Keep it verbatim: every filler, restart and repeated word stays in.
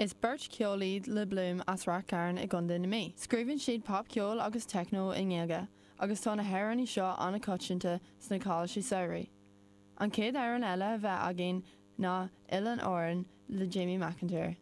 Is beirt cheol iad Le Bloom as Rath Cairn i gContae na Mí. Scríobhann siad popcheol agus techno i nGaeilge, agus tá na hamhráin seo an-choitianta sna coláistí samhraidh. An chéad amhrán eile a bheidh againn ná Oileán Árann le Jamie McIntyre.